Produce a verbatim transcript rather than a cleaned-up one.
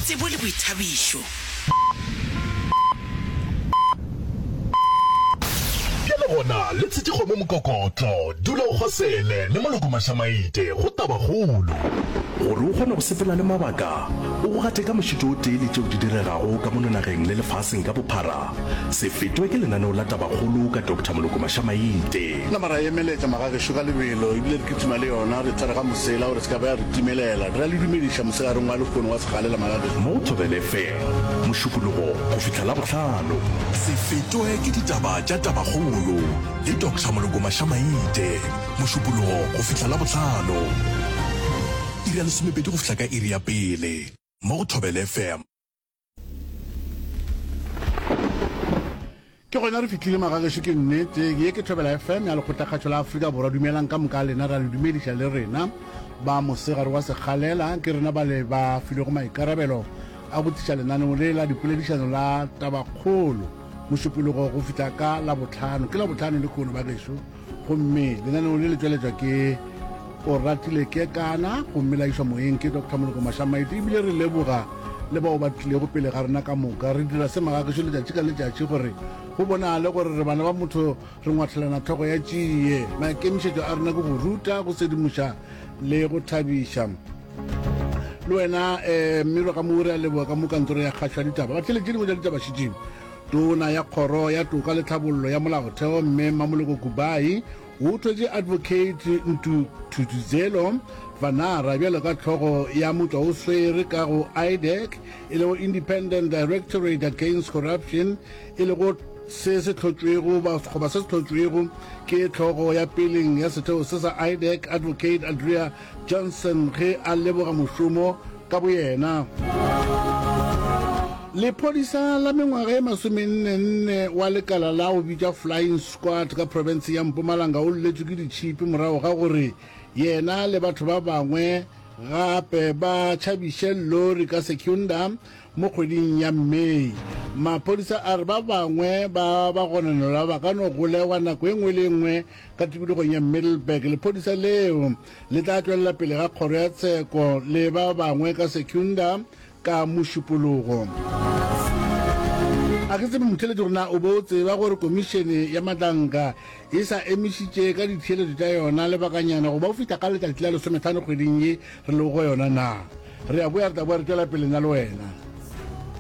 tsebo le boithabišo. Bjale gona le tshetše kgomo mokokotlo, dula o kgosele le Moloko Mašamaite go Tabakgolo. Gore o kgone go sepela le mabaka, o go gate ka mošito o tee le tšeo di diregago ka mono nageng le lefaseng ka bophara, se fetwe ke lenaneo la Tabakgolo ka Doctor Moloko Mašamaite. Nama ra emeletša magagešo ka lebelo ebile re kitima le yona, re tshware ga mosela gore se ka ba ya re timelela. Re a le dumediša mosegareng wa lehono wa sekgalela magagešo. Mo Thobela F M, Mošupologo go fihla Labohlano. Se fetwe ke ditaba tša Tabakgolo le Doctor Moloko Mašamaite, Mošupologo go fihla Labohlano, iri ya lesomepedi go fihla ka iri ya pele, mo go Thobela F M. Ke gona re fihlile magagešo, ke nnete. Ye ke Thobela F M ya Lekgotlakgašo la Afrika Borwa. Dumelang ka moka lena, ra le dumediša le rena ba mosegare wa sekgalela. Ke rena ba le ba filwego maikarabelo a go tliša lenaneo le la dipoledišano la Tabakgolo Mošupologo go fihla ka Labohlano. Ke Labohlano le kono bagešo, gomme lenaneo le le tšweletšwa ke Oratile Kekana gomme la išwa moyeng ke Doctor Moloko Mašamaite. Ebile re leboga le bao ba tlilego pele ga rena ka moka. Re dira se magagešo letšatši ka letšatši gore go bonagale gore re bana ba motho, re ngwathelana tlhogo ya tšie. Maikemišetšo a rena ke go ruta, go sedimoša le go thabiša le wena. um mmiro ka mo re a leboga ka mo kantoro ya kgašo ya ditaba. Batheletše dingwe tša ditaba šetšeng. Tona ya kgoro ya toka le tlhabollo ya molaotheo, mme Mmamoloko Kubayi, o thwetše Advocate Ntuthuzelo Vanara bjalo ka tlhogo ya motšwa o swere ka go IDAC, e lego Independent Directorate Against Corruption, e lego se se hlotšwego goba se se hlotšwego ke tlhogo ya peleng ya setheo se sa IDAC, Advocate Andrea Johnson, ge a leboga mošomo ka boyena. Lephodisa la mengwaga e masomenne-nne wa lekala la go bitša Flying Squad ka profense ya Mpumalanga o lletšwe ke ditšhipi morago ga gore yena le batho ba bangwe gape ba tšhabiše lori ka Secunda mo kgweding ya May. Maphodisa a re ba bangwe ba bagononelwa ba ka no golegwa nako e nngwe le e nngwe ka tikologong ya Middelburg. Lephodisa leo le tla tšwelela pele ga kgoro ya tsheko le ba bangwe ka Secunda ka Mošupologo. A ke tsebe motheletši gore na o be o tseba gore komišene ya Matlanka e sa emišitše ka ditheeletšo tša yona lebakanyana go ba o fihla ka letšatši la lesomehlano kgweding ye re lego go yona na. Re a boya, re tla boya re tšwela pele nna le wena.